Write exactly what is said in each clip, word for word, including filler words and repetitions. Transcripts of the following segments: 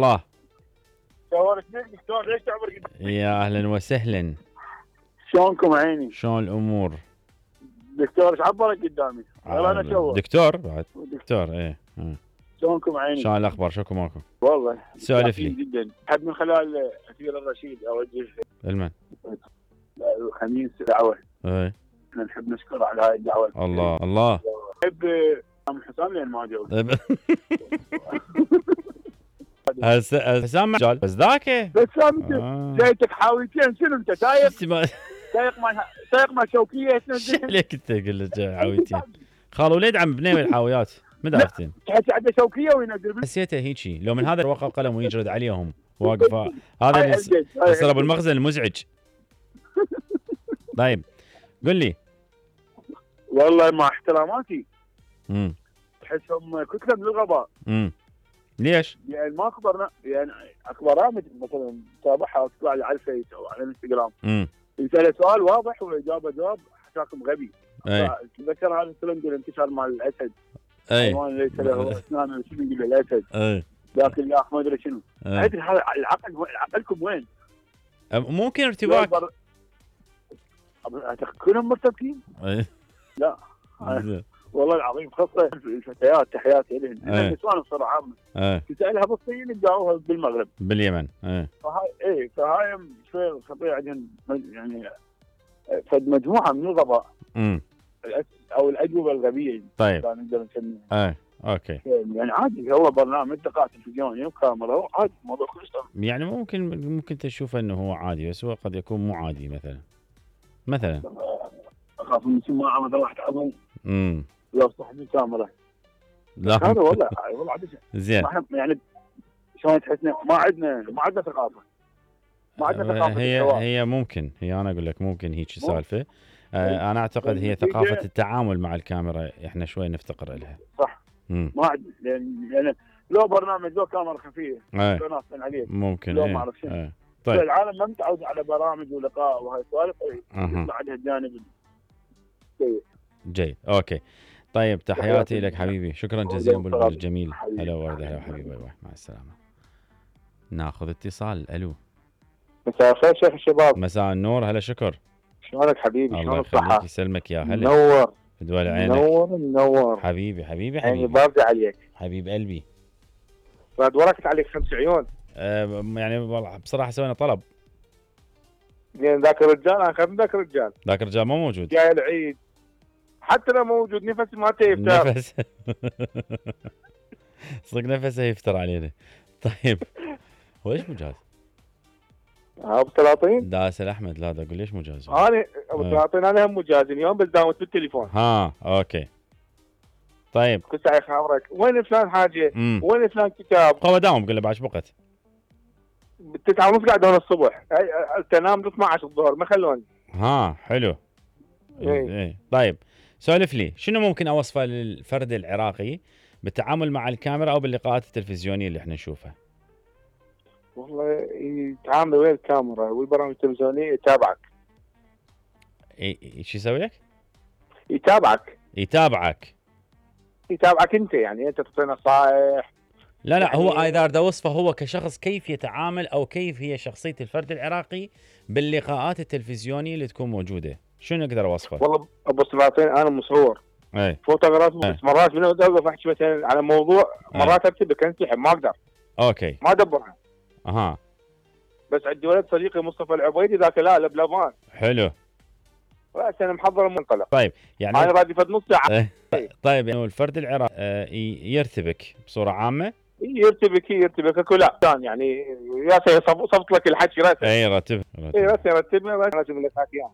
الله. صورت لك دكتور ليش تعبر قدامي؟ يا اهلا وسهلا. شلونكم عيني؟ شلون الامور؟ دكتور ايش عبرك قدامي؟ والله انا شوف دكتور بعد دكتور ايه. شلونكم عيني؟ شلون الاخبار؟ شكو ماكو؟ والله سولف لي جدا. حد من خلال اثير الرشيد اوجه المن الخميس دعوه. ايه احنا نحب نشكر على هاي الدعوه. الله الله. نحب ام حسام لين ما جاوب. هسه حسام مجال بس ذاك بس انت جايتك حاويتين شنو انت سايق؟ سايق مال سايق مال شوكيه. ايش عليك انت قل له حاويتين؟ خال وليد عم بنيوي الحاويات مدارتين. تحس عنده شوكيه وينزل حسيته هيجي لو من هذا الورقه قلم ويجرد عليهم واقف هذا اللي يصير بالمخزن المزعج. طيب قل لي. والله مع احتراماتي امم تحسهم كتله من الغباء. امم ليش؟ يعني ما اكبر يعني اكبر برامج مثلا تتابعها وتطلع لي على الفيس او على الانستغرام. امم يسال سؤال واضح والاجابه جواب حساكم غبي. اي تذكر هذا الفيلم اللي انتشر مع الاسد. اي حيوان ليس له اسنان شنو يقول له الاسد. اي ذاك اللي ما ادري شنو. ادري هذا العقل عقلكم وين؟ ممكن ارتباك. كلهم مرتبكين؟ اي لا والله العظيم خاصه الفتيات تحياتي لهم. النسوان بصراحه عامه تسالها بالصين يجاوبها بالمغرب باليمن. اي فهاي اي فهاي شوي خطيره عندهم يعني فد مجموعه من الغباء. امم او الاجوبه الغبيه. طيب نقدر نسميها. اي اوكي يعني عادي هو برنامج دقائق تلفزيوني وكاميرا عادي موضوع كلش. يعني ممكن ممكن تشوف انه هو عادي بس هو قد يكون مو عادي مثلا مثلا اخاف من ما عمل واحد عظيم. امم لو صاحب الكاميرا لا هذا والله والله عادي زين يعني شلون تحسنا ما عندنا ما عندنا ثقافه ما عندنا ثقافه هي الحوار. هي ممكن هي انا اقول لك ممكن هيك سالفه. آه انا اعتقد هي ثقافه التعامل مع الكاميرا احنا شوي نفتقر لها. صح. مم. ما عندنا يعني, يعني لو برنامج لو كاميرا خفيه ايه. ممكن لو ايه. ما اعرف شنو. ايه. طيب العالم ما متعود على برامج ولقاء وهاي السوالف يطلع عليها الجانب السيء. جيد اوكي. طيب تحياتي لك حبيبي شكرا جزيلا بلبل الجميل. هلا ورده هلا حبيبي مع السلامه. ناخذ اتصال. الو مساء الخير شيخ الشباب. مساء النور. هلا شكر. شلونك حبيبي؟ الله يخليك يسلمك يا هلا. منور دول عينك. منور منور حبيبي حبيبي حبيبي حبيبي بارده عليك حبيب قلبي. بعد وركت عليك خمس عيون. أه يعني والله بصراحه سوينا طلب. يعني ذاك الرجال انا خاف من ذاك الرجال. ذاك الرجال مو موجود. جاي العيد حتى لو موجود نفس ما تيفتر. نفس صدق نفسه يفتر علينا. طيب هو ليش مجاز؟ ابو سلاطين؟ داس الاحمد لا دا اقول ليش مجاز؟ انا ابو سلاطين انا هم مجاز اليوم بس داومت بالتليفون. ها اوكي. طيب كنت ساعي خابرك وين فلان حاجه؟ مم. وين فلان كتاب؟ هو داوم بقول له بعد بوقت؟ بالتسعة ونص قاعد هون الصبح تنام اثنا عشر الظهر ما خلوني. ها حلو. ايه ايه طيب سولف لي شنو ممكن اوصفه للفرد العراقي بالتعامل مع الكاميرا او باللقاءات التلفزيونيه اللي احنا نشوفها؟ والله يتعامل ويا الكاميرا والبرامج التلفزيونيه يتابعك. اي شو يسوي لك؟ يتابعك يتابعك يتابعك انت يعني انت تعطي نصائح. لا لا يعني هو اذا اريد اوصفه هو كشخص كيف يتعامل او كيف هي شخصيه الفرد العراقي باللقاءات التلفزيونيه اللي تكون موجوده شنو اقدر اوصفه؟ والله ابو سلاطين انا مصور اي فوتوغراف بس مرات من اوقف احكي مثلا على موضوع مرات اكتب انسحب ما اقدر. اوكي ما ادبرها. اها بس عندي ولد صديقي مصطفى العبيدي ذاك لا لبلبان. حلو. راس انا محضر المنطلق. طيب يعني انا رادي فد نص ساعه. طيب يعني الفرد العراقي يرتبك بصوره عامه؟ يرتبك يرتبك اكو لا يعني يا صفت لك الحكي راسه. اي رتب اي راسه رتبنا راسه لك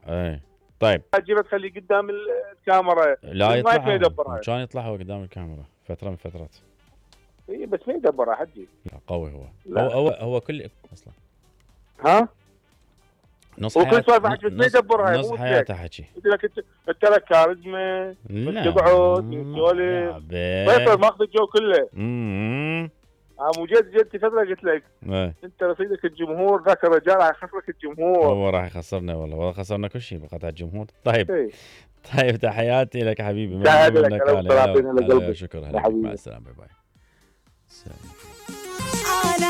اي طيب اجيبه تخليه قدام الكاميرا لا يطلع ما يدبرها. كان يطلع هو قدام الكاميرا فتره من فترات. اي بس ما يدبرها حجي. قوي هو. هو هو هو كل اصلا ها نص حياته وكل سوالف حكي بس ما يدبرها. نص حياته حكي. قلت لك انت لك كاريزما تقعد تسولف ما ماخذ الجو كله. امم اه مو جد جد فتره قلت لك ايه. انت رصيدك الجمهور ذاك الرجال راح يخسرك الجمهور. هو راح يخسرنا والله والله خسرنا كل شيء بقطع الجمهور. طيب ايه. طيب تحياتي لك حبيبي. تحياتي لك. شكرا. مع السلامه باي باي.